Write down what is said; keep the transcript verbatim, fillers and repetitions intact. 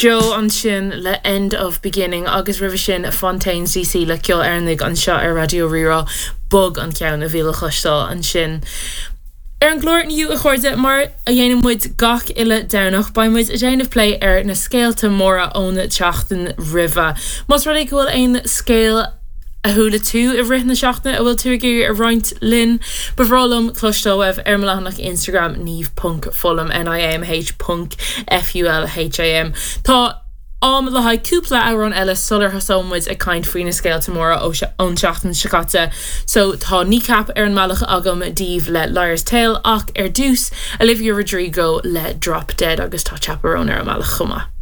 Joe ansin le End of Beginning agus roimhe sin Fontaines DC le ceol Éireannach anseo ar Raidió Rí-Rá bog an ceann a bhí le cloisteáil ansin. Ar an gclár inniu a chairde mar a dhéanann muid gach uile Domhnach beidh muid ag déanamh plé ar na scéalta móra ón tseachtain roimhe. Más rud é go bhfuil aon scéal a chuala tú i rith na seachtaine a bhfuil tú ag iarraidh a roinnt linn, Ba bhreá liom cloisteáil uaibh ar mo leathanach Instagram niamh ponc fulham NIAMH ponc FULHAM. Tá am le haghaidh cúpla amhrán eile sular thosóidh muid ag caint faoi na scéalta móra ón seachtain seo caite, so tá Kneecap ar an mbealach agam daoibh le Liar's Tale ach ar dtús Olivia Rodrigo le Drop Dead agus tá Chappell Roan ar an mbealach chomh maith.